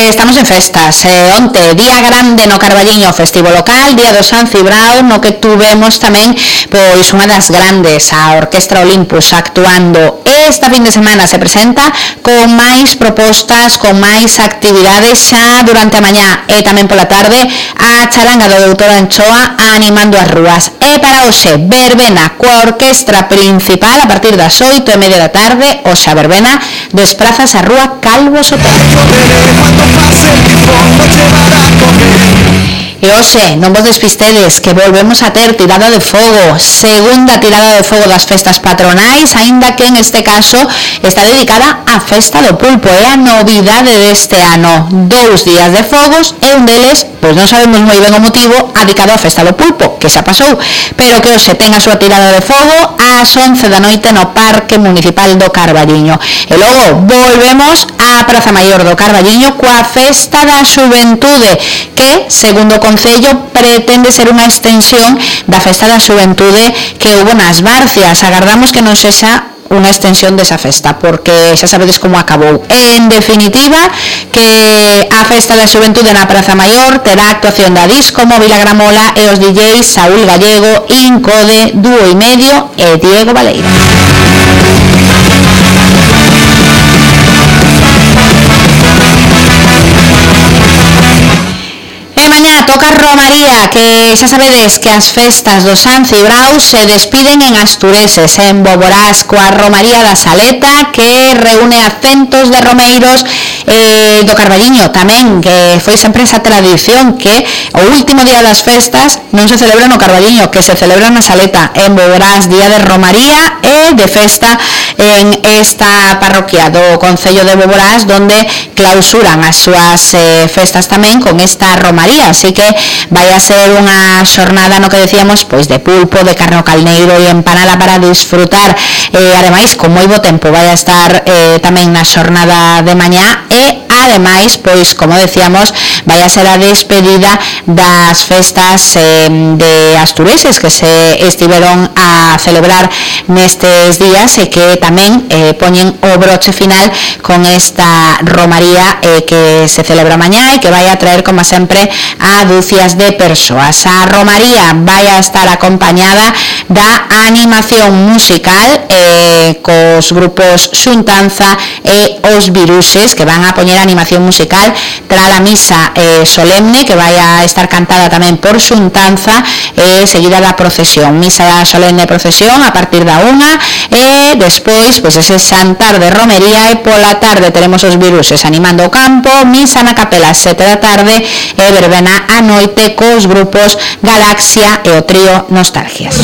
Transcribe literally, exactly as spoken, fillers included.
que estamos en festas. Eh, onte, día grande no Carballiño, festivo local, día do San Cibrao, no que tuvemos tamén pois unha das grandes, a Orquestra Olympus, actuando. Esta fin de semana se presenta con máis propostas, con máis actividades xa durante a mañá e tamén pola tarde a charanga do doutor Anchoa animando as rúas. E para hoxe, verbena coa orquestra principal a partir das oito e media da tarde, hoxe a verbena desprazas a rúa Calvo Sotelo. E hoxe, non vos despistedes, que volvemos a ter tirada de fogo, segunda tirada de fogo das festas patronais, aínda que en este caso está dedicada á festa do pulpo, é a novidade deste ano, dous días de fogos e un deles, pois non sabemos moi ben o motivo, dedicado á festa do pulpo, que xa pasou, pero que hoxe ten a súa tirada de fogo ás once da noite no Parque Municipal do Carballiño. E logo volvemos á Praza Maior do Carballiño coa festa da xuventude, que, segundo o Concello, pretende ser unha extensión da festa da xuventude que hubo nas Barcias. Agardamos que non sexa unha extensión desa festa, porque xa sabedes como acabou. En definitiva, que a festa da xuventude na Praza Maior terá actuación da Disco Móvil A Gramola e os D Js Saúl Gallego, Incode, Dúo e Medio e Diego Valeira. E mañá toca Romaría, que xa sabedes que as festas do San Cibrao se despiden en Astureses, en Boborás, coa Romaría da Saleta, que reúne a centos de romeiros eh, do Carballiño tamén, que foi sempre esa tradición que o último día das festas non se celebra no Carballiño, que se celebra na Saleta, en Boborás, día de Romaría e de festa en esta parroquia do Concello de Boborás, donde clausuran as súas eh, festas tamén con esta Romaría, así que vai a ser unha xornada no que decíamos, pois de pulpo, de carne ao calneiro e empanada para disfrutar, eh, ademais con moi bo tempo vai a estar eh, tamén na xornada de mañá e ademais, pois como decíamos, vai a ser a despedida das festas eh, de Astureses que se estiveron a celebrar nestes días e que tamén eh, poñen o broche final con esta Romaría eh, que se celebra mañá e que vai a traer, como sempre, a dúcias de persoas. A Romaría vai a estar acompañada da animación musical eh, cos grupos Xuntanza e Os Viruses, que van a poñer animación musical tras a misa eh, solemne, que vai a estar cantada tamén por Xuntanza e eh, seguida da procesión, misa solemne e procesión a partir da unha e despois pois ese xantar de romería e pola tarde teremos Os Viruses animando o campo, misa na capela a sete da tarde e verbena a noite cos grupos Galaxia e o trío Nostalgias.